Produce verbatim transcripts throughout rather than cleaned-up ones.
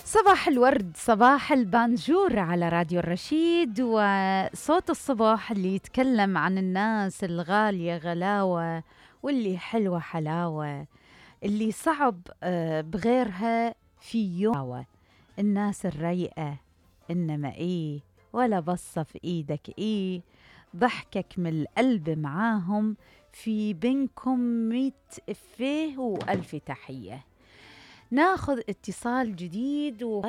صباح الورد، صباح البانجور على راديو الرشيد، وصوت الصباح اللي يتكلم عن الناس الغالية غلاوة واللي حلوة حلاوة، اللي صعب بغيرها في يوم. الناس الريئة إنما إيه ولا بصة في إيدك إيه، ضحكك من القلب معاهم، في بينكم ميت إفيه وألف تحية. ناخذ اتصال جديد و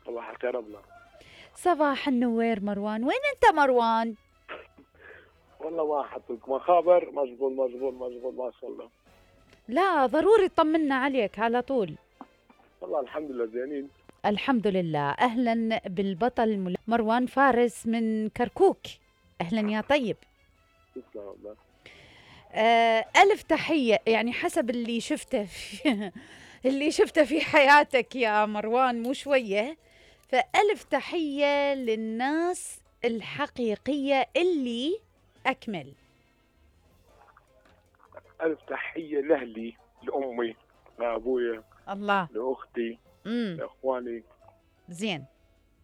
صباح الخير أبلة. صباح النوير مروان. وين انت مروان؟ والله ما حطيت مخابر، مشغول مشغول مشغول ما شاء الله. لا ضروري طمنا عليك على طول. والله الحمد لله زينين. الحمد لله. اهلا بالبطل مروان فارس من كركوك. اهلا يا طيب. تسلم والله. آه ألف تحية، يعني حسب اللي شفته في اللي شفته في حياتك يا مروان مو شوية، فألف تحية للناس الحقيقية اللي أكمل. ألف تحية لأهلي، لأمي، لأبويا، الله، لأختي، امم لإخواني. زين،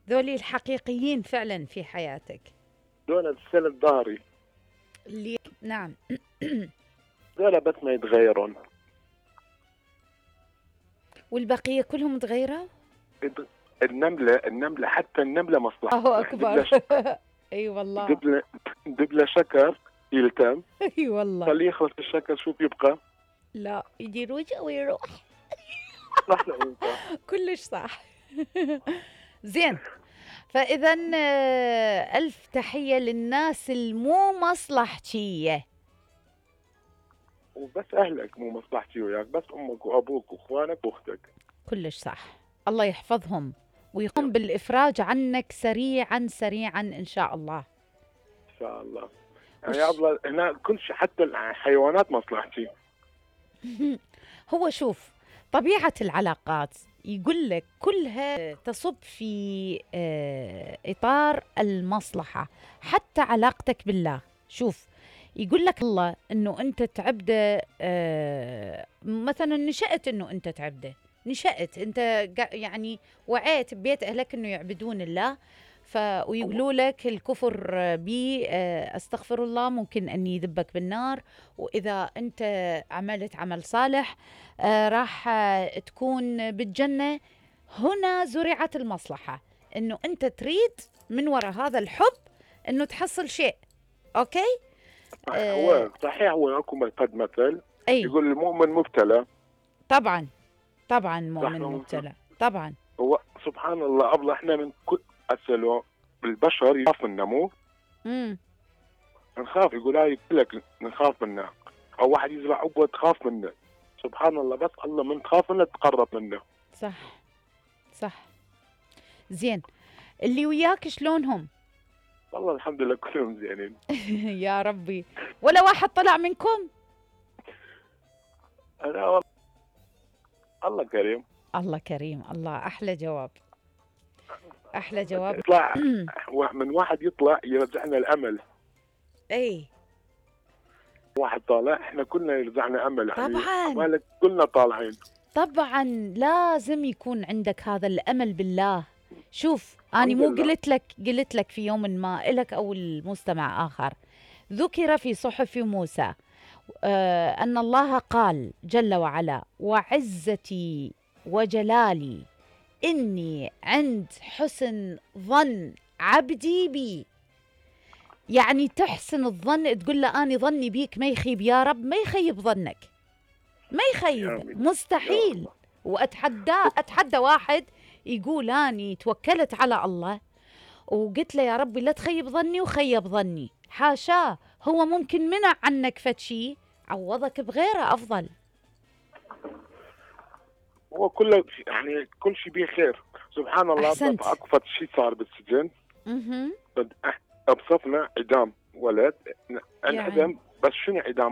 ذولي الحقيقيين فعلا في حياتك، دول السند ظهري اللي نعم دول بس ما يتغيرون. والبقية كلهم تغيروا. النملة النملة حتى النملة مصلحة. الله أكبر. اي والله. دبلة دبلة شكر يلتم. اي والله. خليه يخلص الشكر، شوف يبقى. لا يجي رجع ويروح. صح له كلش صح. زين، فإذا ألف تحية للناس المو مصلحتية، وبس أهلك مو مصلحتي وياك، بس أمك وأبوك وإخوانك وأختك. كلش صح. الله يحفظهم ويقوم بالإفراج عنك سريعا سريعا إن شاء الله. إن شاء الله. يعني يا أبله هنا كل شيء حتى الحيوانات مصلحتي. هو شوف طبيعة العلاقات يقول لك كلها تصب في إطار المصلحة، حتى علاقتك بالله. شوف يقول لك الله إنه أنت تعبده، مثلا نشأت إنه أنت تعبده، نشأت أنت يعني وعيت ببيت أهلك إنه يعبدون الله، ف ويقولوا لك الكفر بي استغفر الله ممكن أن يذبك بالنار، وإذا أنت عملت عمل صالح راح تكون بالجنة. هنا زرعت المصلحة، إنه أنت تريد من وراء هذا الحب إنه تحصل شيء. أوكي. هو صحيح، هو أكو قد مثل أي. يقول المؤمن مبتلى. طبعا طبعا مؤمن مبتلى طبعا. هو سبحان الله أبله احنا من كل أسأله البشر يخاف منا، مو امم نخاف. يقول هاي لك نخاف منه، أو واحد يزرع عقوة تخاف منه. سبحان الله، بس الله من تخاف منه تقرب منه. صح صح. زين، اللي وياك شلونهم؟ والله الحمد لله كلهم زينين. يا ربي. ولا واحد طلع منكم؟ أنا والله الله كريم. الله كريم. الله أحلى جواب، أحلى جواب. يطلع من واحد يطلع يرجعنا الأمل. أي واحد طالع احنا كلنا يرجعنا أمل. طبعا مالك كلنا طالعين. طبعا لازم يكون عندك هذا الأمل بالله. شوف أنا مو قلت لك قلت لك في يوم ما إلك أو المستمع آخر، ذكر في صحف موسى آه أن الله قال جل وعلا: وعزتي وجلالي إني عند حسن ظن عبدي بي. يعني تحسن الظن، تقول له أنا ظني بيك ما يخيب يا رب، ما يخيب ظنك، ما يخيب، مستحيل. وأتحدى أتحدى واحد يقول أني توكلت على الله وقلت له يا ربي لا تخيب ظني وخيب ظني، حاشاه. هو ممكن منع عنك فتشي عوضك بغيره أفضل. هو كله يعني كل شيء بيه خير. سبحان الله. أحسنت. اكو فد شيء صار بالسجن. اها بصفنا اعدام ولد انعدم. بس شنو اعدام؟